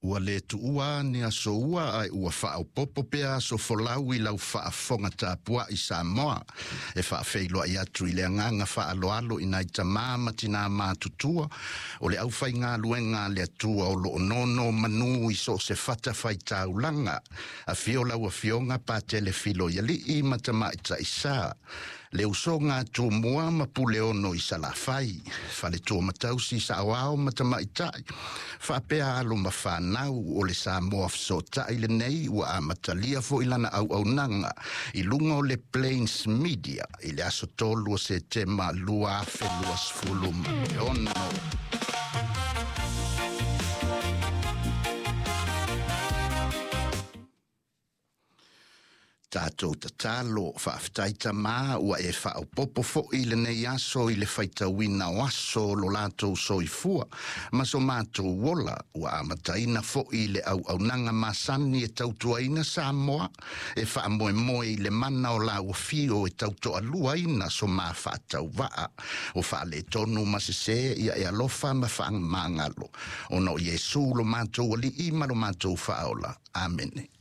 Ua le tuua ni aso ua ae ua faaopoopo pea aso folau i lau faafofoga tapuai Samoa. E faafeiloai atu i le agaga faaaloalo i nai tamā ma tinā matutua o le aufaigaluega a le Atua o lo o nonomanu i so o se fatafaitaulaga. Afio lau Afioga Patele Filoialii ma Tamaitai Sa, le usoga a Tumua ma Puleono i Salafai, faletua ma tausi, saoao ma tamaitai, faapea alo ma fanau o le Samoa Fesootai lenei ua amatalia foi lana auaunaga i luga o le Plains Media i le aso 3 o Setema 2026. Tatou tatalo. Faafetai Tamā ua e faaopoopo foi lenei aso i le faitauina o aso o lo latou soifua ma so matou ola. Ua amataina foi le auaunaga masani e tautuaina Samoa e faamoemoe i le mana o lau afio e tautoaluaina so ma faatauvaa o faaletonu ma sesē. Ia e alofa ma faamagalo ona o Iesu lo matou Alii ma lo matou Faaola. Amene.